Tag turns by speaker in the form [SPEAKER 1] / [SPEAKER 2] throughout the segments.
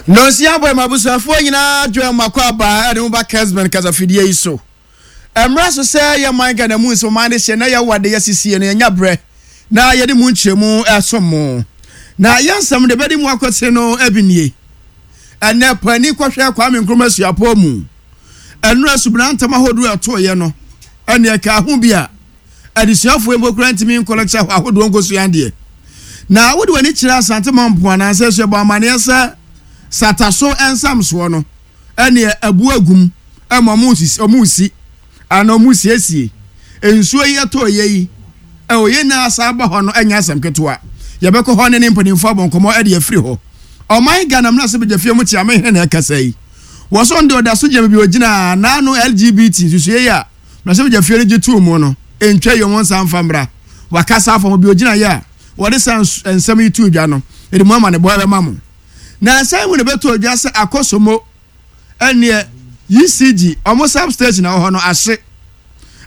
[SPEAKER 1] Nonsia bɔ ma abusuafoɔ nyinaa dwɛn mako aba ɛde mo ba Kesben kasafidie yi so. Ɛmmra so sɛ yɛ man Ghana mu nsɛm ɔman de hyɛ na yɛwɔ ade yɛasisie no yɛnya berɛ na yɛde mu nkyerɛmu ɛsom mo. Na yɛn nsɛm de bɛde mu akɔtene no bi nie. Ɛnɛ paani kɔhwɛ Kwame Nkrumah suapɔn mu. Ɛnora subena ntam ahodoɔ ɛtoeɛ no ɛne ɛka ho bi a adesuafoɔ mpo koraa ntumi nkɔ lecture hɔ ahodoɔ nkɔsua adeɛ. Na wode w'ani kyerɛ Asante Mampong anaasɛ Asuabɔ amanneɛ sɛ Sataso nsamsoɔ no ɛneɛ abu agum ɛma ɔmo sisi ɔmo si anaa ɔmo siesie nsuo yi ɛtɔ yɛ yi ɛwɔ yɛn nyinaa saa ba hɔ no ɛnyɛ asɛm ketewa yɛbɛkɔ hɔ ne ne mpanimfoɔ abɔ nkɔmɔ ɛde afiri hɔ ɔman Ghana mmra sɛ badwafie mu kyea me hene na ɛkasa yi wɔ so ɔno deɛ ɔda so gyina baabi ɔgyina naano LGBT nsusuiɛ yi a mmarahyɛbadwafie no gye too mu no ntwa yi wɔn nsa mfa mmra wakasa afa ho bi ɔgyina yɛ a wɔde saa nsɛm yi too dwa no ɛde mu amanebɔ ɛbɛma mo na nsan mu na ɛbɛtɔ dwa sɛ akɔsomo ɛneɛ ECG ɔmo substation a ɛwɔ hɔ no ahye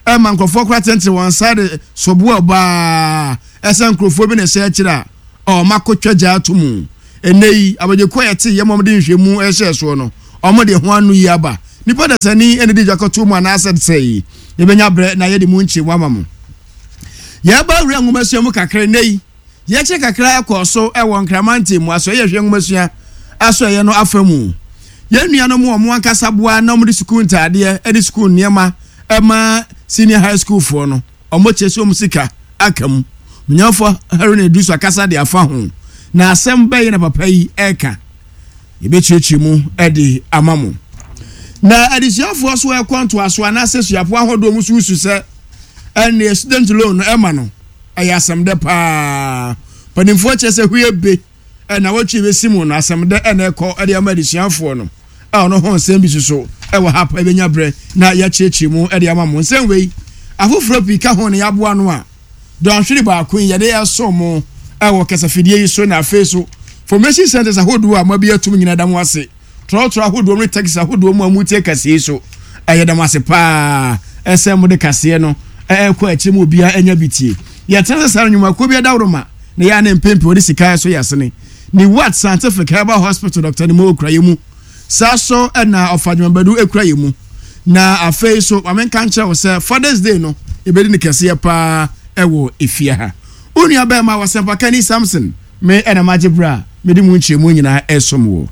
[SPEAKER 1] ɛma nkurɔfoɔ koraa tentene wɔn nsa de soboɔ baa ɛsɛ nkurɔfoɔ bi na ɛhyɛ akyire a ɔmo akɔtwa gya ato mu ɛnɛ yi abadwakuo a yɛte yɛ ma ɔmo de nhwɛmu ɛhyɛ soɔ no ɔmo de ho ano yi aba nipa dasani ɛna de gya kɔto mu anaasɛ sɛ yi yɛbɛnya berɛ na yɛde mu nkyerɛmu ama mo yɛba wura nwomasua mu kakra ɛnɛ yi Yɛkyɛ kakra kɔɔ so wɔ Nkramanten mu Asɔeyɛ Hwɛ Nwomasua Asɔeyɛ no afa mu. Yɛn nuanom a wɔn ankasa boa na wɔde sukuu ntaadeɛ ne sukuu nneɛma ma senior high school foɔ no, wɔkyɛ sɛ wɔn sika aka mu. Onyamfoɔ Haruna Iddrisu akasa de afa ho. Na asɛm bɛyɛ na papa yi ɛreka. Yɛbɛkyerɛkyerɛ mu de ama mo. Na adesuafoɔ so ɛkɔ ntoaso anaasɛ suafoɔ ahodoɔ mu so su sɛ ɛnneɛ student loan no ɛma no. Ɛyɛ asɛmdɛ paa. Mpanimfoɔ kyerɛ sɛ hwie be na wɔtwe bɛsi mu no asɛmdɛ na ɛkɔ de ama adesuafoɔ no. A ɔno ho nsɛm bi soso wɔ ha pa ɛbɛnya berɛ na yɛakyerɛkyerɛ mu de ama mo. Nsɛm wei afoforɔ pii ka ho na yɛaboa no a dɔnhwere baako yi yɛde ɛso mo wɔ kasafidie yi so na afei so formation centers ahodoɔ a moabi atum nyina da mo ase. Trɔtrɔ ahodoɔ ne taxi ahodoɔ mu a motie kaseɛ yi so, yɛda mo ase paa sɛ mode kaseɛ no ɛrekɔ akyire mu obiara anya bi tie. Yɛtena sɛ saa nnwumakuo bi adaworoma na yɛ a ne mpempem wɔde sika ɛso yɛ asene. Ne Wat Scientific Herbal Hospital Dr. Nimo kura yɛ mu. Saa so na Ɔfa Dwumabadu kura yɛ mu. Na afei so ma menka nkyerɛ wo sɛ Father's Day no yɛbɛdi no kɛseɛ paa ɛwɔ efie ha. Wo nua bɛrima wɔsɛmpakani Samson me ɛna magye berɛ a mede mu nkyerɛmu nyinaa ɛsom wo.